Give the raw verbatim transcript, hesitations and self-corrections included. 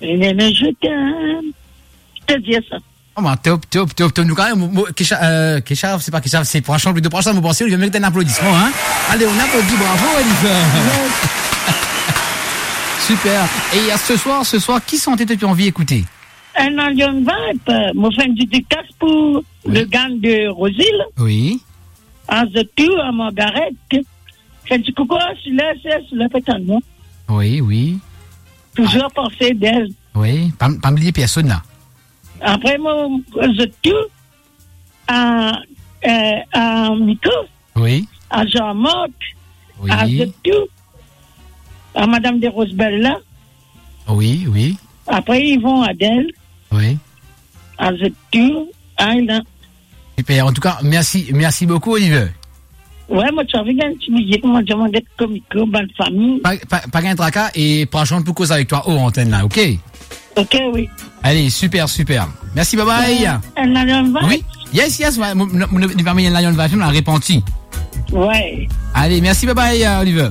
Néné, je t'aime. Je te dis ça. Oh, ben, top, top, top, top. Nou, kan mem, mo, mo, Keshav, euh, Keshav, se pa Keshav, se Prachant, plito Prachant, mo panse, li merit enn aplodisman, hein. Allez, on applaudit, bravo, Oliver. Yes. Super. Et, euh, ce soir, ce soir, ki sante to pe anvi ekoute? Enn Lion Vibe, euh, mo fer enn dedikas pou le gang de Rosil. Oui. A zot tou, a Margaret. Fer enn ti koukou, si la, si la, si la, petan, non? Oui, oui. Touzour panse d'elle. Oui, pa, pa bliye personn la. Apre, mo, zot tou, a, euh, a Miko, oui, a Jean-Marc, oui, a zot tou, a Madame de Rosebella. Oui, oui. Apre, Yvon Adèle. Oui. A zot tou, a, la. Super. En tout cas, merci, merci beaucoup, Oliver. Ouais, mo ti anvi gagn ti biye, kouma dir, mo get komiko, bann fami. Pa, pa, pa gagn traka, e Prachant pou koz avek twa o antenn la, ok? Ok, oui. Allez, super, super. Merci, bye bye. Euh, enn Lion Vibe. Oui. Yes, yes, ouais, mo, mo, mo, li pa met enn Lion Vibe, la repanti. Ouais. Allez, merci, bye bye, euh, Oliver.